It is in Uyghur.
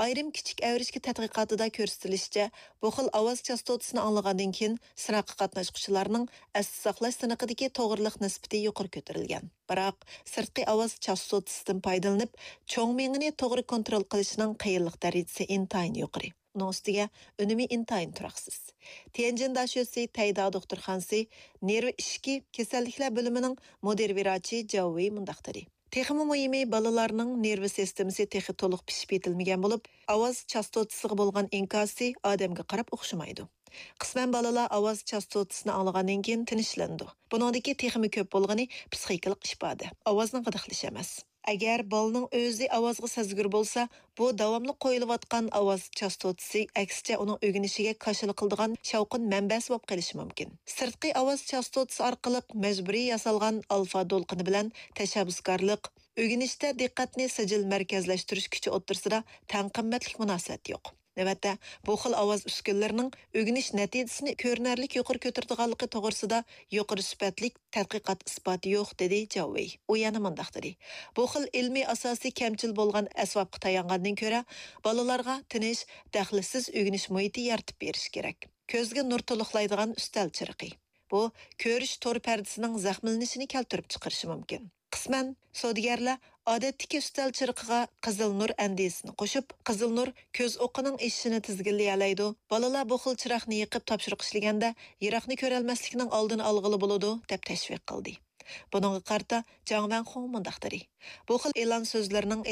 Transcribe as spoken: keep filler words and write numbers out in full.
ئايرىم كىچىك ئەۋرىشكە تەتقىقاتىدا كۆرسىتىلىشىچە، بۇ خىل ئاۋاز چاستوتىسىنى ئاڭلىغاندىن كېيىن سىناققا قاتناشقۇچىلارنىڭ ئەستە ساقلاش سىنىقىدىكى توغرىلىق نىسبىتى يۇقىرى كۆتۈرۈلگەن. بىراق، سىرتقى ئاۋاز چاستوتىسىدىن پايدىلىنىپ، چوڭ مېڭىنى توغرا كونترول قىلىشنىڭ قىيىنلىق دەرىجىسى ئىنتايىن يۇقىرى. ئۇنىڭ ئۈستىگە ئۈنۈمى ئىنتايىن تۇراقسىز. تيەنجىن داشۆسى تەيدا دوختۇرخانىسى نېرۋا ئىچكى كېسەللىكلەر بۆلۈمىنىڭ مۇدىر ۋىراچى جاۋ ۋېي مۇنداق دېدى: تېخىمۇ مۇھىمى، بالىلارنىڭ نېرۋا سىستېمىسى تېخى تولۇق پىشىپ يېتىلمىگەن بولۇپ، ئاۋاز چاستوتىسىغا بولغان ئىنكاسى ئادەمگە قاراپ ئوخشىمايدۇ. قىسمەن بالىلار ئاۋاز چاستوتىسىنى ئاڭلىغاندىن كېيىن تىنچلىنىدۇ. بۇنىڭدىكى تېخىمۇ كۆپ بولغىنى پسىخىكىلىق ئىپادە، ئاۋازنىڭ غىدىقلىشى ئەمەس. ئەگەر بالىنىڭ ئۆزى ئاۋازغا سەزگۈر بولسا، بۇ داۋاملىق قويۇلۇۋاتقان ئاۋاز چاستوتىسى، ئەكسىچە، ئۇنىڭ ئۆگىنىشىگە كاشىلا قىلىدىغان شاۋقۇن مەنبەسى بولۇپ قېلىشى مۇمكىن. سىرتقى ئاۋاز چاستوتىسى ئارقىلىق مەجبۇرىي ياسالغان ئالفا دولقۇنى بىلەن تەشەببۇسكارلىق، ئۆگىنىشتە دىققەتنى سىجىل مەركەزلەشتۈرۈش كۈچى ئوتتۇرىسىدا تەڭ قىممەتلىك مۇناسىۋەت يوق. نۆۋەتتە، بۇ خىل ئاۋاز ئۈسكۈنىلىرىنىڭ ئۆگىنىش نەتىجىسىنى كۆرۈنەرلىك يۇقىرى كۆتۈرىدىغانلىقى توغرىسىدا يۇقىرى سۈپەتلىك تەتقىقات ئىسپاتى يوق، دېدى جاۋ ۋېي. ئۇ يەنە مۇنداق دېدى: بۇ خىل ئىلمىي ئاساسى كەمچىل بولغان ئەسۋابقا تايانغاندىن كۆرە، بالىلارغا تىنچ، دەخلىسىز ئۆگىنىش مۇھىتى يارىتىپ بېرىش كېرەك. كۆزگە نۇر تولۇقلايدىغان ئۈستەل چىرىقى. بۇ كۆرۈش تور پەردىسىنىڭ زەخىملىنىشىنى كەلتۈرۈپ چىقىرىشى مۇمكىن. قىسمەن سودىگەرلەر ئادەتتىكى ئۈستەل چىرىقىغا قىزىل نۇر ئەندىزىسىنى قوشۇپ، قىزىل نۇر كۆز ئوقىنىڭ ئېشىشىنى تىزگىنلىيەلەيدۇ، بالىلار بۇ خىل چىراغنى يېقىپ تاپشۇرۇق ئىشلىگەندە يىراقنى كۆرەلمەسلىكنىڭ ئالدىنى ئالغىلى بولىدۇ، دەپ تەشۋىق قىلدى. بۇنىڭغا قارىتا جاڭ ۋەنخۇڭ مۇنداق دېدى: بۇ خىل ئېلان سۆزلىرىنىڭ